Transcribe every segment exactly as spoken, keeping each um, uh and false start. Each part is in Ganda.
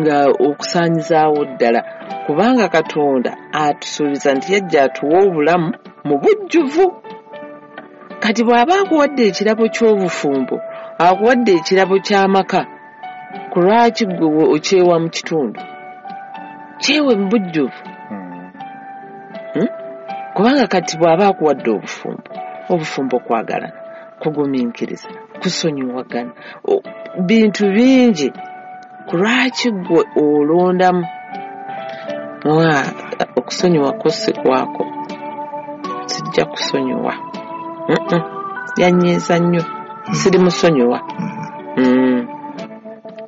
Nga okusaanyizaawo ddala, kubanga Katonda atusuubiza nti yajja atuwa obulamu mu bujjuvu. Kati bw'aba akuwadde ekirabo ky'obufumbo, akuwadde ekirabo ky'amaka, ku lwaki ggwe okyewa mu kitundu? Kyewe mu bujjuvu. Hmm? Kubanga kati bw'aba akuwadde obufumbo, obufumbo kwagalana, kugumiikiriza, kusonyiwagana, bintu bingi. Ku lwaki ggwe olondamu? Okusonyiwa ko si kwako, sijja kusonyiwa. Yanyiiza nnyo, siri musonyiwa.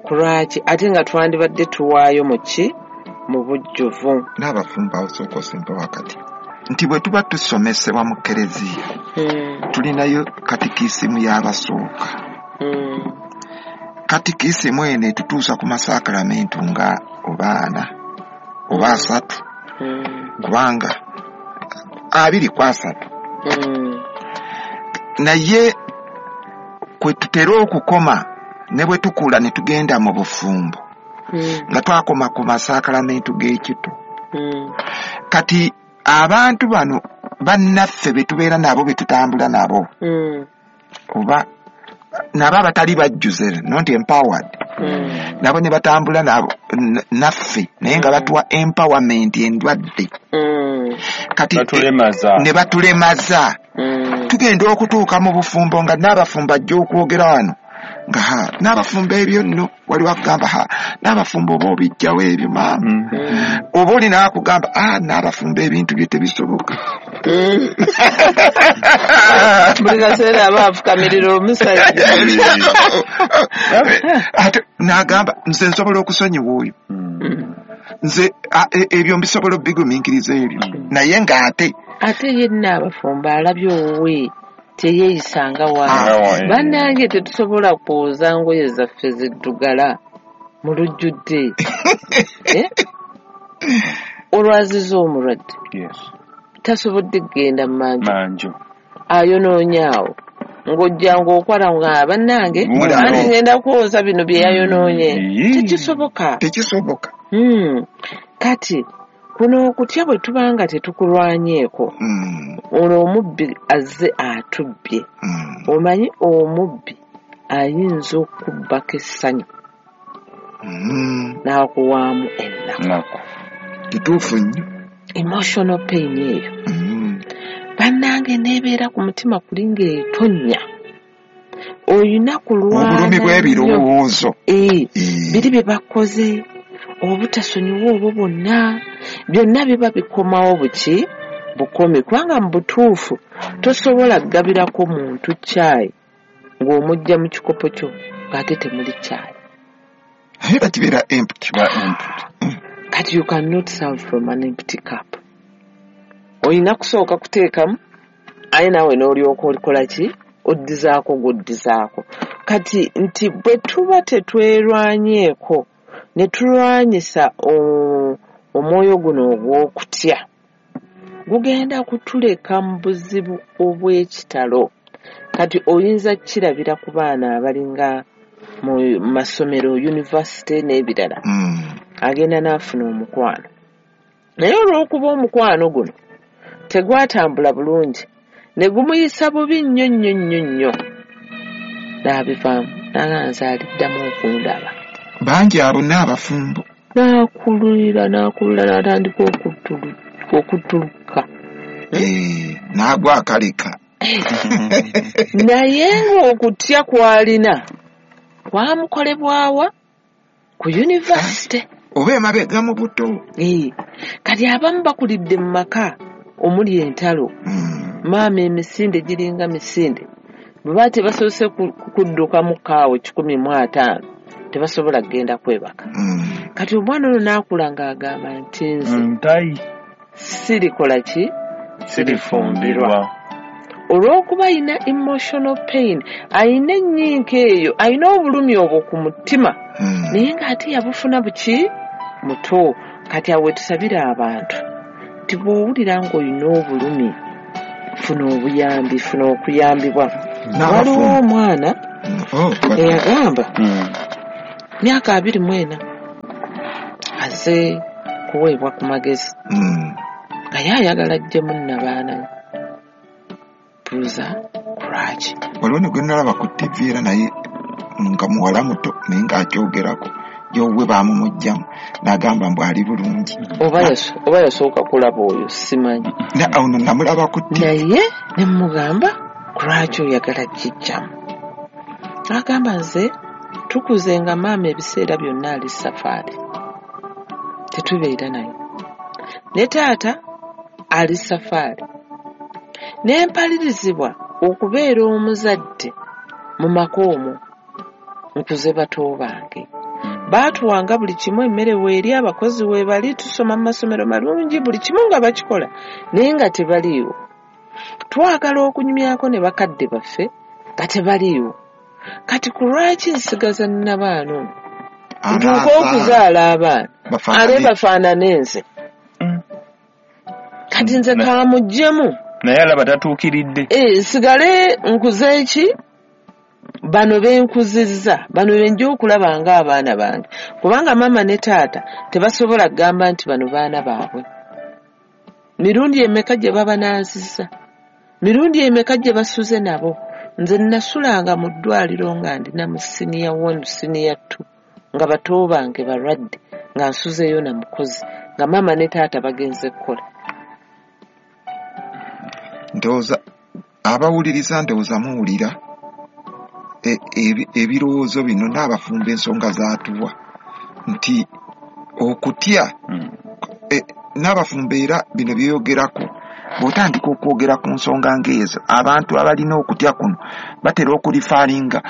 Ku lwaki? Ate nga twandibadde tuwaayo mu ki? Mu bujjuvu. N'abafumbo awo sooka osembe wakati nti bwe tuba tusomesebwa mu kereziya, tulinayo katikisimu y'abasooka. Katikisimu eno etutuusa ku masakramentu nga oba ana oba asatu, kubanga abiri ku asatu. Naye kwe tutera okukoma ne bwe tukula ne tugenda mu bufumbo, nga twakoma ku masakramentu g'ekito. Kati abantu bano bannaffe be tubeera nabo, be tutambula nabo, oba nabo abatali bajjuze, not empowered, nabo ne batambula nabo naffe, naye nga batuwa empowerment endwadde. Kati ne batulemaza. Tugenda okutuuka mu bufumbo nga n'abafumbo ajja okwogera wano nga ha n'abafumbo ebyo nno waliwo akugamba ha n'abafumbo oba obijjawo ebyo maama, oba olina akugamba ah n'abafumbo ebintu bye tebisoboka. Buli kaseera aba afukamirira omusajja. Ate n'agamba nze nsobola okusonyiwa oyo, nze ebyo mbisobola obigumiikiriza ebyo, naye ng'ate ate yenna abafumbo alabye owuwe teyeeyisanga wa. Bannange tetusobola kwoza ngoye zaffe ziddugala mu lujjudde. Olwaziza omulwadde tasobodde kugenda mu manju, ayonoonye awo ng'ojja ng'okwala nga bannange anti ngenda kwoza bino bye yayonoonye. Tekisoboka, tekisoboka. Kati kuno okutya bwe tuba nga tetukulwanyeeko, ono omubbi azze atubbye. Omanyi omubbi ayinza okubbako essanyu n'akuwaamu ennaku. Kituufu nnyo. Emotional pain eyo bannange n'ebeera ku mutima kuli ng'etonnya. Olina kulwana obulumi bw'ebirowoozo biri bye bakoze, obutasonyiwa obwo bwonna byonna biba bikomawo buki bukomi, kubanga mu butuufu tosobola kugabirako muntu caayi ng'omujja mu kikopo kyo ng'ate temuli caayi. Naye bakibeera empty. Kati you cannot serve from an empty cup. Olina kusooka kuteekamu aye naawe n'olyoka olikola ki? Oddizaako gw'oddizaako. Kati nti bwe tuba tetwerwanyeeko ne tulwanyisa omwoyo guno ogw'okutya, gugenda kutuleka mu buzibu obw'ekitalo. Kati oyinza kukirabira ku baana abalinga mu masomero, yunivasite n'ebirala, agenda n'afuna omukwano, naye olw'okuba omukwano guno tegwatambula bulungi ne gumuyisa bubi nnyo nnyo nnyo nnyo, n'abivaamu n'aganza aliddamu okundaba. Bangi abo n'abafumbo n'akulira n'akulira n'atandika okuttuluka, n'agwa akaleka. Naye ng'okutya kw'alina kwamukolebwawa ku yunivasite oba emabega mu buto. Kati abamu bakulidde mu maka omuli entalo, maama emisinde giringa misinde, bwe baba tebasoose kuddukamu kaawo kikumi mu ataano tebasobola kugenda kwebaka. Kati omwana ono n'akula ng'agamba nti nze sirikola ki? Sirifumbirwa. Olw'okuba ayina emotional pain, ayina ennyinka eyo, ayina obulumi obwo ku mutima, naye ng'ate yabufuna buki? Muto. Kati awo we tusabira abantu nti bw'owulira ng'olina obulumi, funa obuyambi, funa okuyambibwa. Waliwo omwana eyagamba myaka abiri mu ena aze kuweebwa ku magezi Mm. nga ye ayagala ajjemu nnabaana ye. Buuza lwaki? Waliwo ne gwe nalaba ku T V era naye nga muwala muto, naye ng'akyogerako yowe baamumuggyamu n'agamba mbu ali bulungi. Oba yaso- oba yasooka kulaba oyo, simanyi. Na ono namulaba ku T V. Naye ne mugamba, lwaki oyagala kijjamu? Agamba, nze tukuze nga maama ebiseera byonna ali safaari, tetubeera naye, ne taata ali safaari, ne mpalirizibwa okubeera omuzadde mu maka omwo. Nkuze bato bange, baatuwanga buli kimu, emmere weeri, abakozi weebali, tusoma mu masomero malungi, buli kimu nga bakikola, naye nga tebaliiwo. Twagala okunyumyako ne bakadde baffe nga tebaliiwo. Kati ku lwaki nsigaza nnabaana ono ntuuke okuzaala abaana ate bafaanane nze? Kati nze Na- kamuggyemu. Naye alaba tatuukiridde. Eh, nsigale nkuze ki bano benkuzizza, bano benja okulaba ng'abaana bange, kubanga maama ne taata tebasobola kugamba nti bano baana baabwe. Mirundi emeka gye babanaazizza, mirundi emeka gye basuze nabo? Nze nasulanga mu ddwaliro nga ndina mu senior one, senior two, nga bato bange balwadde, nga nsuzeeyo na mukozi, nga maama ne taata bagenze kukola. Ndowooza abawuliriza, ndowooza muwulira e- ebi- ebirowoozo bino n'abafumba ensonga zaatuwa nti okutya Mm. e, n'abafumbo era bino byeyogerako, bw'otandika okwogera ku nsonga ng'ezo, abantu abalina okutya kuno batera okureferinga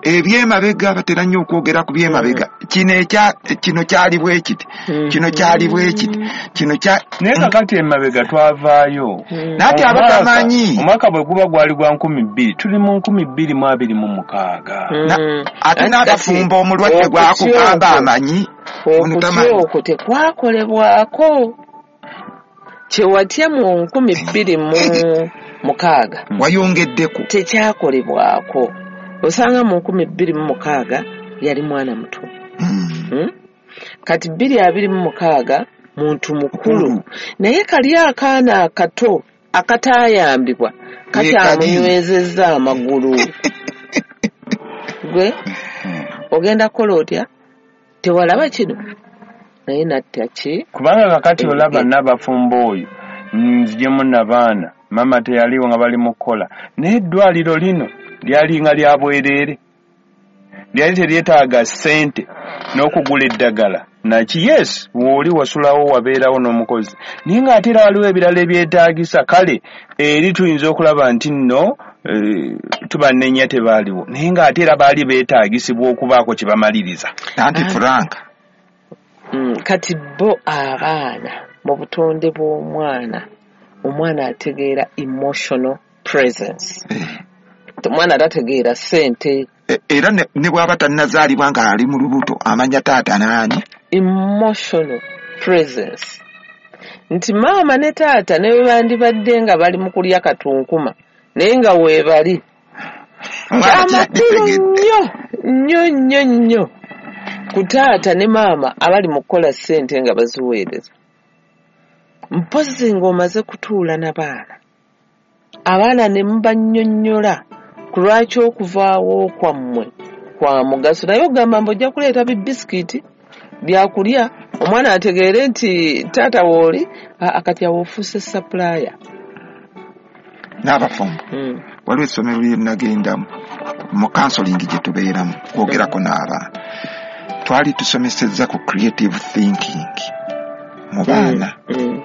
ebyemabega, batera nnyo okwogera ku byemabega. Kino ekya kino kyali bwe kiti, kino kyali bwe kiti, kino kya Naye kakati emabega twavaayo. Naati abatamanyi. Omwaka bwe guba gwali gwa nkumi bbiri, tuli mu nkumi bbiri mu abiri mu mukaaga. Na- ate n'abafumbo omulwadde gwakugamba amanyi ono okutya tamanyi. Okwo tekwakolebwako. Kyewatya mu nkumi bbiri mu mukaaga wayongeddeko. Tekyakolebwako. Osanga mu nkumi bbiri mu mukaaga yali mwana muto. Mm. Hmm? Kati bbiri abiri mu mukaaga muntu mukulu, naye kali akaana akato akataayambibwa kakyamunywezezza amagulu. Gwe ogenda kukola otya? Tewalaba kino naye natta ki? Kubanga kakati olaba n'abafumbo oyo nzijemu nabaana, maama teyaliwo nga bali mu kukola, naye eddwaliro lino lyalinga lya bwereere, lyali teryetaaga ssente n'okugula eddagala naki. Yes, wooli wasulawo, wabeerawo n'omukozi, naye ng'ate era waliwo ebirala ebyetaagisa. Kale eri tuyinza okulaba nti nno eh, tubanenya tebaaliwo, naye ng'ate era baali beetaagisibwa okubaako kye bamaliriza. Anti Frank. Mm, kati bo abaana mu butonde bw'omwana, omwana ategeera emotional presence. Omwana tategeera ssente. E- era ne ne bw'aba tannazaalibwa ng'ali mu lubuto amanya taata naani. Emotional presence nti maama ne taata ne bwe bandibadde nga bali mu kulya katunkuma, naye nga weebali. Omwana Kyamakulu kyakitegedde. nnyo nnyo nnyo nnyo ku taata ne maama abali mu kukola ssente nga baziweereza, mpozzi ng'omaze kutuula n'abaana, abaana ne mubannyonnyola ku lwaki okuvaawo kwammwe kwa mugaso. Naye ogamba mbu ojja kuleeta bibisikiiti byakulya omwana ategeere nti taata wooli, akati awo ofuuse supplier. N'abafumbo, Mm. waliwo essomero lye nagendamu mu counseling gye tubeeramu kwogerako n'abaana, twali tusomesezza ku creative thinking mu baana. Mm.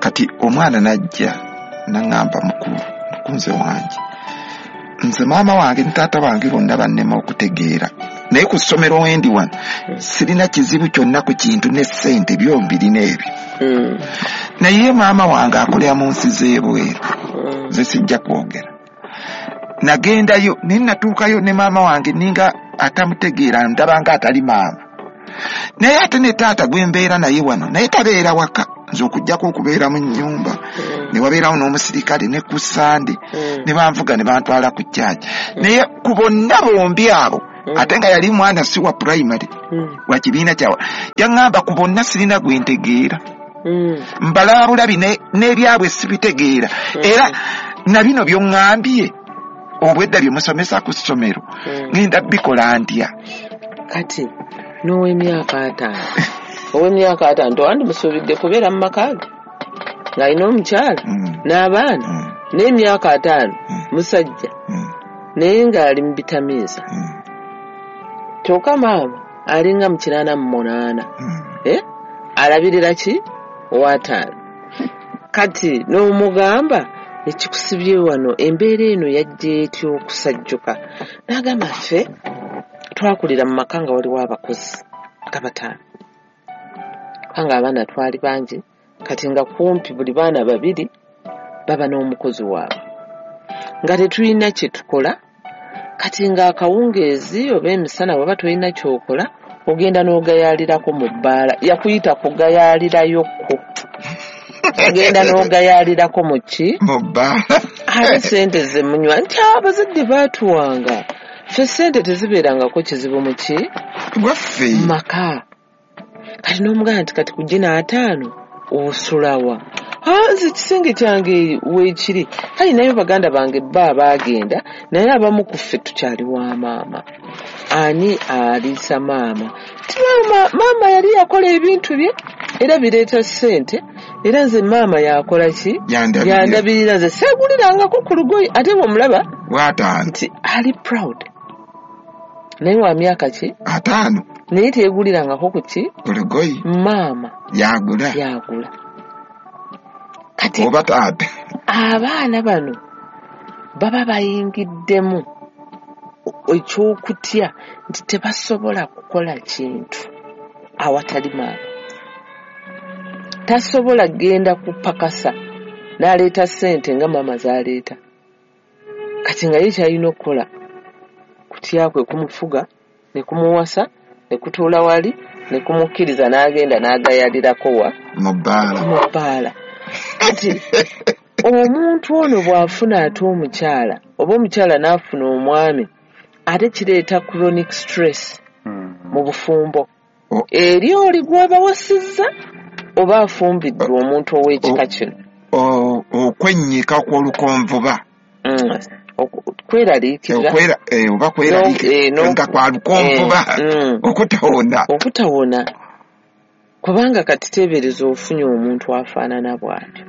Kati omwana najja naŋŋamba, "Mukulu, mukunze wange, nze maama wange ne taata wange bonna bannema okutegeera, naye ku ssomero wendi wano sirina kizibu kyonna ku kintu ne ssente byombirina ebyo, Mm. naye maama wange akolera mu nsi z'ebweru, Mm. nze sijja kwogera. Nagendayo naye natuukayo ne maama wange ninga atamutegeera, ndaba nga atali maama. Naye ate ne taata gwe mbeera naye wano naye tabeera waka, nze okugjako okubeera mu nnyumba, Mm. ne wabeerawo n'omusirikale ne ku Sande Mm. ne banvuga ne bantwala ku kyaki, naye ku bonna bombi abo Mm. Ate nga yali mwana si wa primary, Mm. wa kibiina kyawa. Yaŋŋamba ku bonna sirina gwe ntegeera. Mm. Mbalaba bulabi n'ebyabwe sibitegeera. Mm. Era na bino by'oŋŋambye obwedda bye musomesa ku ssomero, Mm. ŋŋenda bikola ntya? Kati n'ow'emyaka ataano, ow'emyaka ataano tewandimusuubidde kubeera mu maka ge ng'alina omukyala Mm. n'abaana Mm. n'emyaka ataano Mm. musajja Mm. naye ng'ali mu bitamiiza. Mm. Kyokka maama alinga mu kinaana mu munaana. Mm. Eh? Alabirira ki? Ow'ataano. Kati n'omugamba ekikusibye wano embeera eno yajja etya okusajjuka? N'agamba ffe twakulira mu maka nga waliwo abakozi nga bataano. Kubanga abaana twali bangi, kati nga kumpi buli baana babiri baba n'omukozi waabwe. Nga tetulina kye tukola, kati ng'akawungeezi oba emisana bw'oba tolina ky'okola, ogenda n'ogayaalirako mu bbaala. Yakuyita kugayaalirayokko. Ogenda n'ogayaalirako mu ki? Mu bbaala. Ate ssente ze munywa. Nti abazadde baatuwanga. Ffe ssente tezibeerangako kizibu mu ki? Waffe. Mu maka. Kati n'omugamba nti kati ku gino ataano osulawa. Ah, nze ekisenge kyange weekiri. Kale nayo baganda bange bo abaagenda, naye abamu ku ffe tukyali wa maama. Ani aliisa maama? Ti maama, maama yali yakola ebintu bye era bireeta ssente, era nze maama yakola ki? Yandabirira. Yandabirira nze seegulirangako ku lugoye. Ate bw'omulaba W'ataano. nti ali proud. Naye wa myaka ki? Ataano. Naye teegulirangako ku ki? Ku lugoye. Maama. Yagula. Yagula. Kati oba taata. Abaana bano baba bayingiddemu eky'okutya nti tebasobola kukola kintu awatali maama. Tasobola kugenda kupakasa n'aleeta ssente nga maama z'aleeta. Kati nga ye ky'alina okukola kutya kwe kumufuga ne kumuwasa ne kutuula wali ne kumukkiriza n'agenda n'agayalirako wa? Mu bbaala. Mu bbaala. Kati omuntu ono bw'afuna ate omukyala oba omukyala n'afuna omwami, ate kireeta chronic stress mu bufumbo. O- Eri oli gw'abawasizza oba afumbiddwa omuntu ow'ekika kino. O-, okwennyika kw'olukonvuba. Mm. Oku-, kweraliikirira. Okwera, eh, oba kweraliikirira. No, eh, no. Nga kwa lukonvuba. Eh, mm. Okutawona. Okutawona. Kubanga kati teebereza ofunye omuntu afaanana bw'atyo.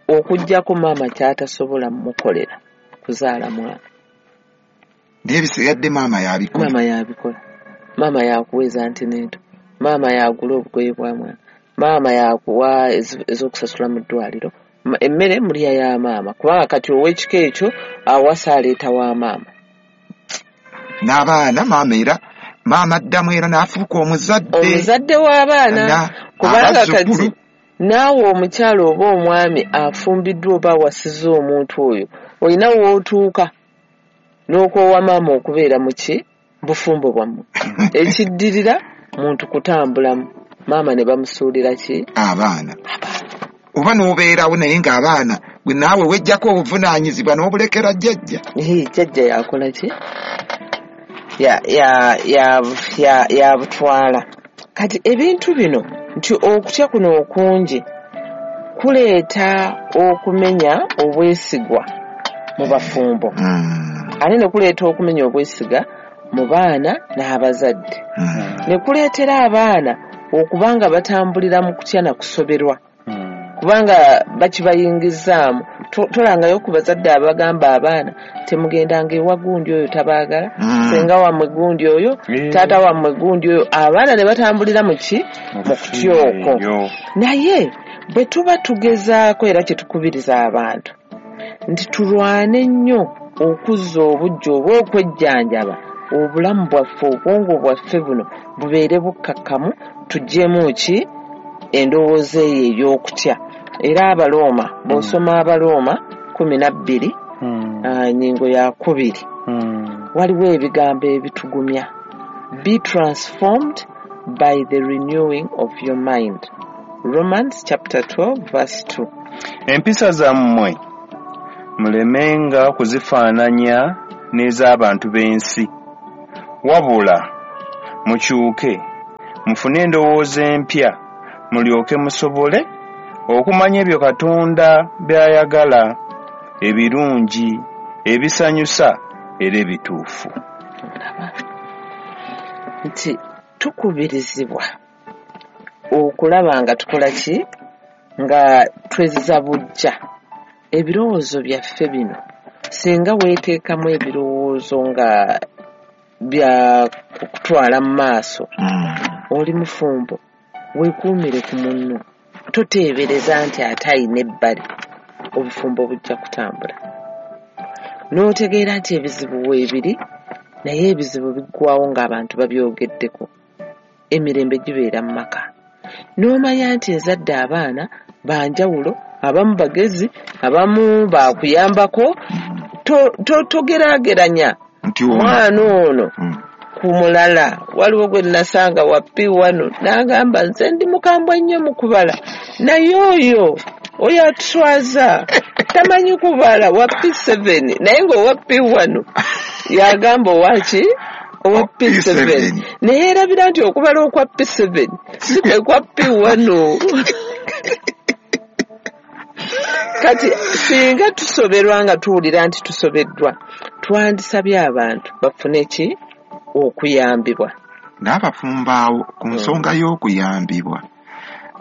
Okuggyako maama ky'atasobola mmukolera kuzaala mwana. Naye bisigadde maama y'abikola. Maama y'abikola. Maama y'akuweeza antinento. Maama y'agula obugoye bwa mwana. Maama y'akuwa ezi-, ez'okusasula mu ddwaliro. Ma-, emmere mulya ya maama. Kubanga kati ow'ekika ekyo awasa aleeta wa maama. N'abaana maama era maama addamu era n'afuuka omuzadde. Omuzadde w'abaana. Na-, Kubanga abazzukulu. kati naawe omukyala oba omwami afumbiddwa oba awasizza omuntu oyo, olina w'otuuka n'okwowa maama okubeera mu ki? Bufumbo bwammwe. Ekiddirira muntu kutambulamu. Maama ne bamusuulira ki? Abaana. Abaana. Oba n'obeerawo naye ng'abaana gwe naawe weggyako obuvunaanyizibwa n'obulekera jjajja. Ee, jjajja yakola ki? Ya, ya, ya, ya, yabutwala. Kati ebintu bino nti okutya kuno okungi kuleeta okumenya obwesigwa mu bafumbo. Mm. Ate ne kuleeta okumenya obwesiga mu baana n'abazadde. Mm. Ne kuleetera abaana okuba nga batambulira mu kutya na kusoberwa. Mm. Kubanga bakibayingizaamu. To-, tolangayo ku bazadde abagamba abaana temugendanga ewa gundi oyo tabaagala, Mm. ssenga wammwe gundi oyo, Eh. taata wammwe gundi oyo. Abaana ne batambulira mu ki? Mu Mu kutya okwo. kutya. Naye bwe tuba tugezaako era kye tukubiriza abantu nti tulwane nnyo okuzza obuggya oba okwejjanjaba obulamu bwaffe, obwongo bwaffe buno bubeere bukkakkamu, tuggyemu ki endowooza eyo ey'okutya. Era Abalooma, bw'osoma Abalooma kkumi na bbiri, Hmm. ah, nnyingo ya kubiri, Hmm. waliwo ebigambo ebitugumya. Be transformed by the renewing of your mind. Romans chapter twelve verse two. Empisa zammwe mulemenga kuzifaananya n'ez'abantu b'ensi. Wabula mukyuke, mufune endowooza empya, mulyoke musobole okumanya ebyo Katonda by'ayagala, ebirungi, ebisanyusa era ebituufu. Nti tukubirizibwa okulaba nga tukola ki, nga twezza buggya ebirowoozo byaffe bino. Singa weeteekamu ebirowoozo nga bya kutwala mu maaso, oli mufumbo, weekuumire ku munno, toteebereza nti ate ayina ebbali, obufumbo bujja kutambula. N'otegeera nti ebizibu weebiri, naye ebizibu biggwawo ng'abantu babyogeddeko, emirembe gibeera mu maka. N'omanya nti nzadde abaana banjawulo, abamu bagezi, abamu baakuyambako, togeraageranya mwana ono ku mulala. Waliwo gwe nasanga wa P one n'agamba nze ndi mukambwe nnyo mu kubala, naye oyo oyo atuswaza tamanyi kubala, wa P seven, naye ng'owa P one yagamba owaki owa P seven, naye erabira nti okubala okwa P seven si kwe kwa P one. Kati singa tusoberwa nga tuwulira nti tusobeddwa, twandisabye abantu bafune ki okuyambibwa. N'abafumbo awo ku nsonga y'okuyambibwa,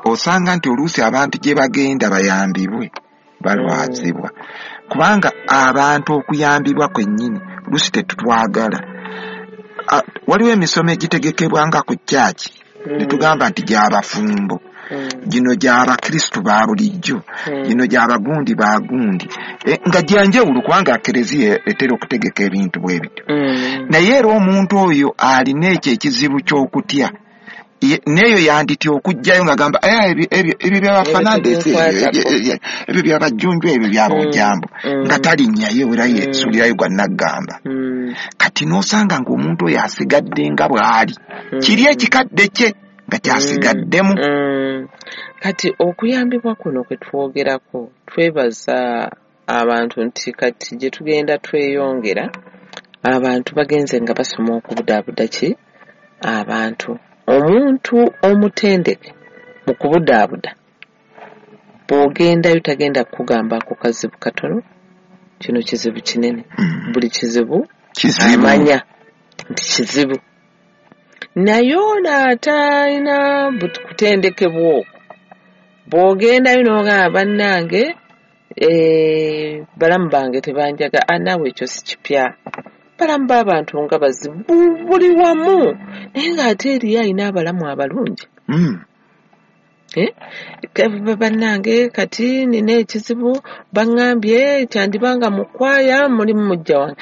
osanga nti oluusi abantu gye bagenda bayambibwe balwazibwa, kubanga abantu okuyambibwa kwennyini oluusi tetutwagala. Waliwo emisomo egitegekebwa nga ku kyaki, ne tugamba nti gy'abafumbo, gino gy'abakristu ba bulijjo, gino gy'abagundi bagundi, nga gyanjawulo kubanga Kereziya etera okutegeka ebintu bwe bityo. Naye era omuntu oyo alina ekyo ekizibu ky'okutya, n'eyo yanditya okujjayo ng'agamba ebyo by'abafanandesi, ebyo by'abajjunju, ebyo by'abojambo, nga talinnyayo era yeesuulirayo gwa naggamba. Kati n'osanga ng'omuntu oyo asigadde nga bw'ali, kiri ekikadde kye nga kyasigaddemu. Kati okuyambibwa kuno kwe twogerako, twebaza abantu nti kati gye tugenda tweyongera, abantu bagenze nga basoma okubudaabuda ki abantu. Omuntu omutendeke mu kubudaabuda, bw'ogendayo tagenda kukugamba ako kazibu katono, kino kizibu kinene. Buli kizibu amanya nti kizibu. Naye ono atalina kutendekebwa okwo, bw'ogendayo n'ogamba bannange balamu bange tebanjaga, naawe ekyo si kipya, balamu b'abantu nga bazibu buli wamu, naye ng'ate eriyo alina abalamu abalungi. Bannange kati nina ekizibu, baŋŋambye kyandibanga mu kwaya mulimu mujja wange,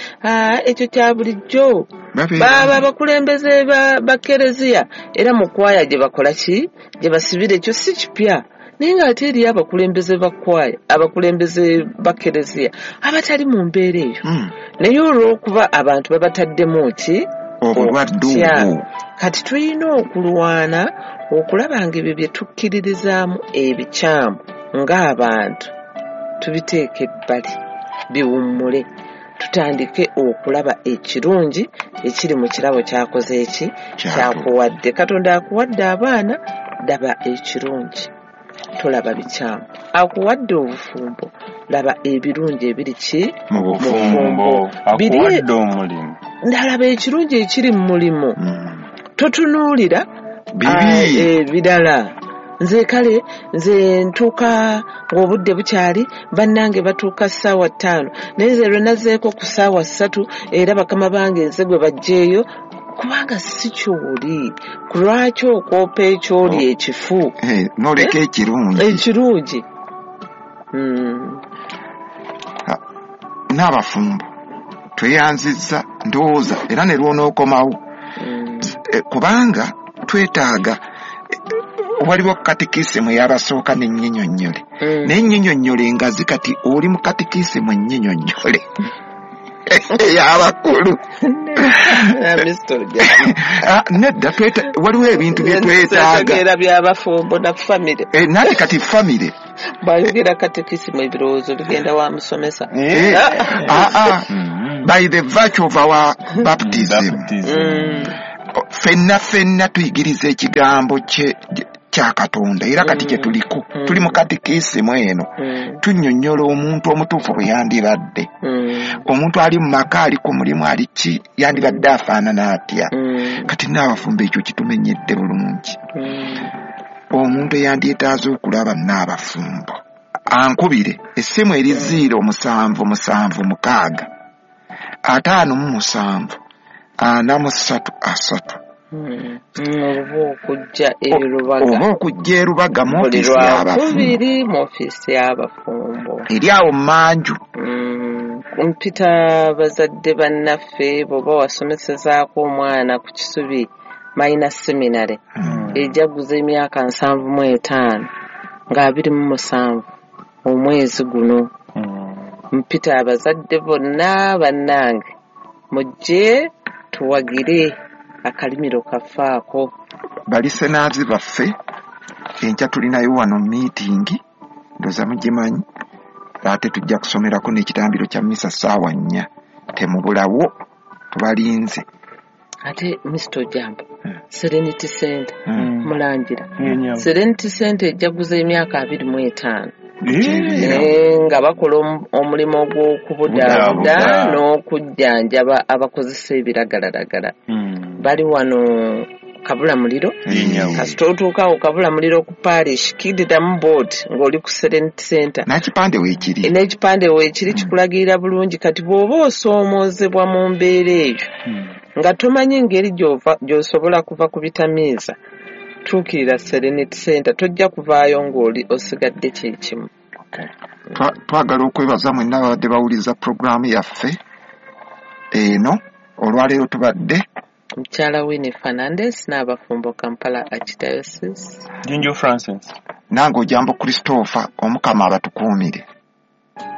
ekyo kya bulijjo, baba abakulembeze ba Kereziya era mu kwaya gye bakola ki, gye basibira, ekyo si kipya. Naye ng'ate eriyo abakulembeze ba kwaya, abakulembeze ba Kereziya abatali mu mbeera eyo, naye olw'okuba abantu babataddemu ki obulwadde obwo. Kati tulina okulwana okulaba nga ebyo bye tukkiririzaamu ebikyamu ng'abantu tubiteeke ebbali, biwummule, tutandike okulaba ekirungi ekiri mu kirabo kyakoze eki kyakuwadde. Katonda akuwadde abaana, laba ekirungi, tolaba bikyamu. Akuwadde obufumbo, laba ebirungi ebiri ki mu bufumbo. Akuwadde omulimu, ndalaba ekirungi ekiri mu mulimu, totunuulira ebirala. Nze kale nze ntuuka ng'obudde bukyali, bannange batuuka ssaawa ttaano, naye nze lwe nazzeeko ku ssaawa ssatu era bakama bange nze gwe baggyeeyo, kubanga si ky'oli. Ku lwaki okwopa ekyoli ekifu n'oleka ekirungi ekirungi? N'abafumbo tweyanzizza ndowooza era ne lw'onookomawo, kubanga twetaaga. Waliwo katikisimu eyabasooka n'ennyinyonnyole, naye ennyinyonnyole engazi kati oli mu katikisimu ennyinyonnyole ey'abakulu. Nedda, waliwo ebintu bye twetaaga by'abafumbo na famire. Nate kati famire bw'ayogera katikisimu ebirowoozo bigenda wa musomesa. By the virtue of our baptism, ffenna ffenna tuyigiriza ekigambo kya Katonda, era kati kye tuliko, tuli mu katikisimu eno, tunnyonnyola omuntu omutuufu bwe yandibadde. Omuntu ali mu maka, ali ku mulimu, ali ki, yandibadde afaanana atya. Kati n'abafumbo ekyo kitumenyedde bulungi. Omuntu eyandyetaaze okulaba n'abafumbo ankubire essimu eri ziro musanvu musanvu mukaaga ataano mu musanvu ana mu ssatu asatu. Oba okujja e Rubaga, oba okujja e Rubaga mu ofiisi y'abafumbo, mu ofiisi y'abafumbo eri awo mmanju. Mpita bazadde bannaffe, bw'oba wasomesezaako omwana ku Kisubi Minor Seminary ejaguza emyaka nsanvu mu etaano nga abiri mu musanvu omwezi guno. Mpita abazadde bonna bannange, mujje tuwagire akalimiro kafaako. Balisenaazi baffe enkya tulinayo wano miitingi, ndowooza mugimanyi, ate tujja kusomerako n'ekitambiro kya mmisa ssaawa nnya, temubulawo, tubalinze. Ate Mister Ojambo, Serenity Center mulangira, Serenity Center ejaguza emyaka abiri mu etaano nga bakola omulimu ogw'okubudaabuda n'okujjanjaba abakozesa ebiragalalagala. Bali wano Kabula Muliro, kasita otuukawo Kabula Muliro ku parish, kiddamu board ng'oli ku Serenity Center, n'ekipande weekiri, n'ekipande weekiri kikulagirira bulungi. Kati bw'oba osoomoozebwa mu mbeera eyo nga tomanyi ngeri gy'osobola kuva ku bitamiiza, tuukirira Serenity Center, tojja kuvaayo ng'oli osigadde kyekimu. Twagala okwebaza mwenna ababadde bawuliriza puroguraamu yaffe eno. Olwaleero tubadde Mukyala Winnie Fernandez n'abafumbo Kampala Archdiocese, Jinju Francis, nange Ojambo Christopher. Omukama abatukuumire.